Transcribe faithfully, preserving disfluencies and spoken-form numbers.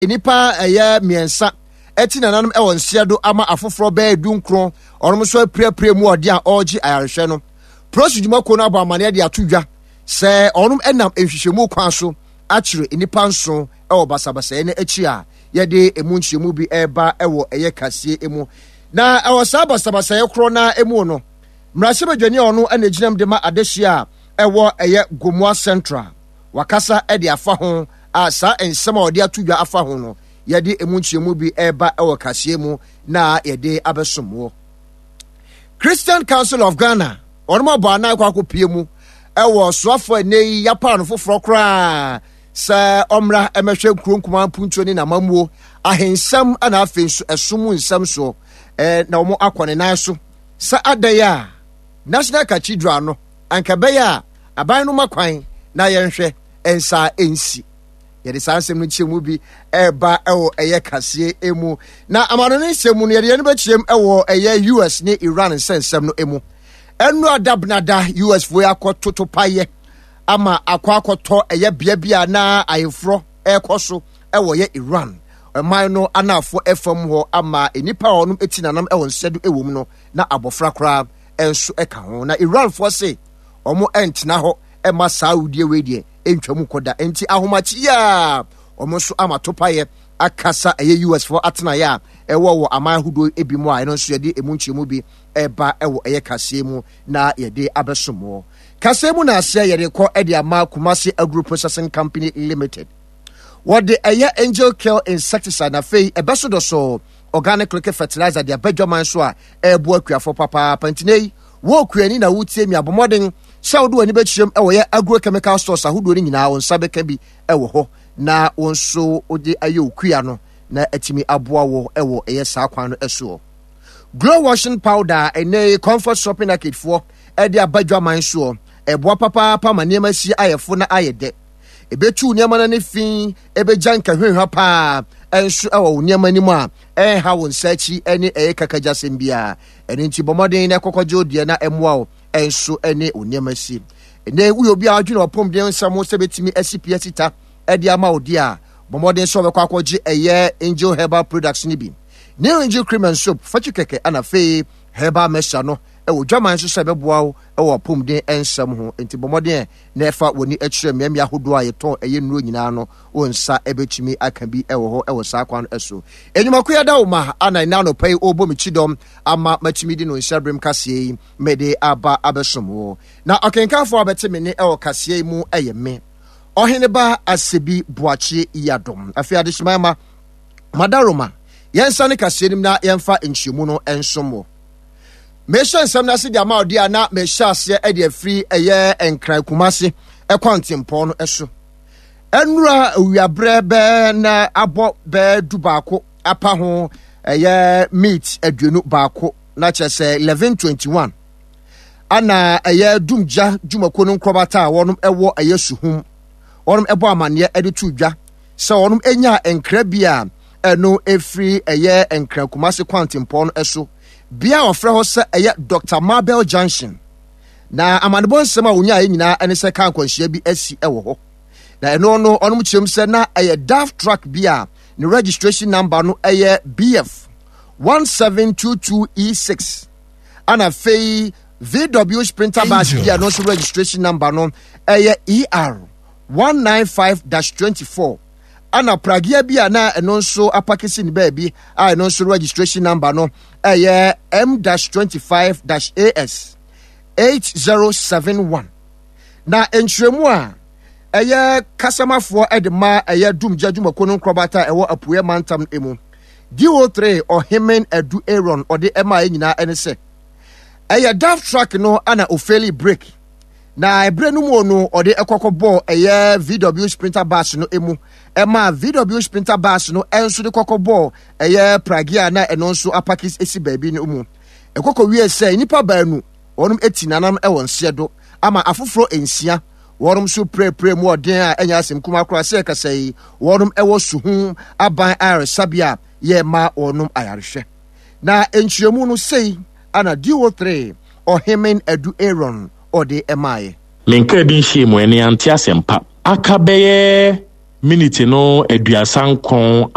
Nnipa ɛyɛ mmiɛnsa ɛti nananom ɛwɔ nseɛ do ama afoforɔ bɛyɛ du nkron ɔnom nso apirapira mu ɔde a ɔregye ayarehwɛ no. Polisi dwumakuo no abɔ amaneɛ de ato dwa sɛ ɔnom ɛnam nhwehwɛmu kwan so akyerɛ nnipa nson ɛwɔ basabasayɛ no akyi a yɛde emu nkyerɛmu bi ɛreba ɛwɔ ɛyɛ kaseɛ mu. Na ɛwɔ saa basabasayɛ korɔ na emu no, mmarahyɛbadwani a ɔno ɛna egyinam de ma adehyia a ɛwɔ ɛyɛ Gomoa Central wakasa ɛde afa ho a saa nsɛm a ɔde ato dwa afa ho no, yɛde emu nkyerɛmu bi ɛreba ɛwɔ kaseɛ mu na yɛde abɛsom wɔ. Christian Council of Ghana wɔn abɔ anan kɔ akɔpie mu ɛwɔ soafoɔ ɛnɛ yi yapa no foforɔ koraa sɛ ɔmmra ɛmɛhwɛ nkuro nkumaa mpuntuo ne n'amammuo ahensɛm ɛna afei nso ɛsom mu nsɛm soɔ ɛɛ na wɔn akɔ ne nan so sɛ adan a National Cathedral no anka bɛyɛ a aban no ma kwan na yɛnhwɛ nsa nsi. Yɛde saa nsɛm no nkyɛn bi ɛreba ɛwɔ ɛyɛ kaseɛ mu. Na amano ne nsɛm mu no, yɛde yɛn bɛkyerɛm ɛwɔ ɛyɛ U S ne Iran nsɛnsɛm no mu. Ɛnu adabenada U S foɔ akɔ toto payɛ ama akɔ akɔtɔ ɛyɛ bea bi a na ayeforɔ ɛrekɔ so ɛwɔ yɛ Iran ɔman no anafoɔ ɛfam hɔ ama nnipa a wɔn eti nanam ɛwɔ nsɛdo ɛwɔ mu no, na abɔfra koraa ɛnso ɛka ho. Na Iranfoɔ se wɔn ɛntena hɔ ɛma saa awudie wei deɛ ntwam kɔda, nti ahomakye a wɔn nso ama topayɛ akasa ɛyɛ U S foɔ atenaeɛ a ɛwɔ wɔ aman ahodoɔ ebi mu a ɛno nso yɛde emu nkyɛnmu bi ɛba ɛwɔ ɛyɛ kaseɛ mu na yɛde abɛsom wɔ kaseɛ mu. Na aseɛ yɛde kɔ ɛde ama Kumasi Agro Processing Company Limited. Wɔde ɛyɛ Angel Kill insecticide na afei ɛbɛso dɔ so organic liquid fertilizer de aba dwaman so a ɛreboa akuafoɔ papaapa. Nti yi wɔ okuani na wotie mi, abɔmmɔden sɛ wode w'ani bɛkyerɛm ɛwɔ yɛ agrochemical stores ahodoɔ no nyinaa, wo nsa bɛka bi ɛwɔ hɔ na wo nso wode ayɛ okua no na atumi aboa wo ɛwɔ ɛyɛ saa kwan no ɛsoɔ. Glow washing powder, ɛnɛ Comfort Shopping Arcade foɔ ɛde aba dwaman soɔ, ɛboa papaapa ma nneɛma si ayɛ fo na ayɛ dɛ. Ɛbɛtu nneɛma no ne fi, ɛbɛgya nkahwehwa paa ɛnso ɛwɔ wo nneɛma no mu a ɛnha wo nsa akyi ɛne ɛyɛ kakagyasɛm biara. Ɛno nti bɔ mmɔden na ɛkɔkɔgye wo deɛ na ɛmmoa wo ɛnso ɛne wo nneɛma si. Ɛnɛ woyɛ obi a adwene ɔpɔmden nsɛm ho sɛ bɛtumi asi pia sita ɛde ama wo deɛ a, bɔ mmɔden sɛ wɔbɛkɔ akɔgye ɛyɛ Angel Herbal Products no bi, New Angel Cream and Soap fakyi kɛkɛ, ana afei herbal mixture no ɛwɔ dwaman nso sɛ ɛbɛboa wo ɛwɔ apɔmuden nsɛm ho. Nti bɔ mmɔden na ɛfa w'ani akyerɛ mmeammea ahodoɔ a yɛtɔn ɛyɛ nnuro nyinaa no, wo nsa ɛbɛtumi aka bi ɛwɔ hɔ ɛwɔ saa kwan no so. Enyimako yɛda wo ma ana ɛna anɔpa yi ɔrebɔ me kyidɔm ama matumi de no nhyɛ berem kaseɛ yi mede aba abɛsom wo. Na ɔkenkanfoɔ a bɛte me ne ɛwɔ kaseɛ yi mu ɛyɛ me Ɔheneba Asebi Boakye Yadom. Afei adehyema ma madaroma yɛnsa ne kaseɛ nim na yɛmfa nkyerɛmu no nsom wɔ. Mehyɛ nsɛm no ase de ama ɔde a na mehyɛ aseɛ de afiri ɛyɛ Nkran Kumase ɛkɔ ntempɔn no so. Ɛnura owiaberɛ bɛɛ na abɔ bɛɛ du baako apa ho ɛyɛ meat aduonu baako, na kyerɛ sɛ eleven twenty-one, ana ɛyɛ dumgya dwumakuo no nkorɔbata a wɔnom ɛwɔ ɛyɛ Suhum wɔnom ɛbɔ amanneɛ ɛde to dwa sɛ wɔnom anya nkra bi a ɛno efiri ɛyɛ Nkran Kumase kwantempɔn no ɛso bea a wɔfrɛ hɔ sɛ ɛyɛ Doctor Mabel Junction. Na amanebɔ nsɛm a wonyaeɛ nyinaa ɛne sɛ kaa nkwanhyia bi asi ɛwɔ hɔ. Na ɛno no ɔnom kyerɛm sɛ na ɛyɛ D A F truck bi a ne registration number no ɛyɛ B F one seven two two E six, ana afei V W Sprinter bus bi a no nso registration number no ɛyɛ E R one nine five dash twenty-four, ana pragea bi a na ɛno nso apake si ne baabi a ɛno nso registration number no ɛyɛ M dash twenty-five dash A S eight zero seven one. Na nkyerɛmu a ɛyɛ kasamafoɔ de ma ɛyɛ dumgya dwumakuo no nkorɔbata a ɛwɔ Apueɛ Mantam no mu, D O three Ɔhemen Adu Aaron, ɔde ɛma yɛ nyinaa ɛne sɛ ɛyɛ D A F truck no ana ofaili brake, na ɛberɛ no mu no ɔde ɛkɔkɔ bɔɔ ɛyɛ V W Sprinter bus no mu, ɛma V W Sprinter bus no ɛnso de kɔkɔ bɔɔ ɛyɛ pragea na ɛno nso apake esi baabi no mu. Ɛkɔkɔ wie sɛ nnipa baanu wɔnom eti nanam ɛwɔ nseɛ do ama afoforɔ nsia wɔnom nso pirepire mu ɔden a ɛnyɛ asɛm kuma koraa sɛ ɛkasa yi wɔnom ɛwɔ Suhum aban ayaresabea a yɛma wɔnom ayarehwɛ. Na nkyerɛmu no sei ana D O three Ɔhemen Adu Aaron ɔde ɛmaeɛ. Menkaa bi nhyia mu ɛne ante asɛmpa aka bɛyɛ. Minute no aduasa nkron.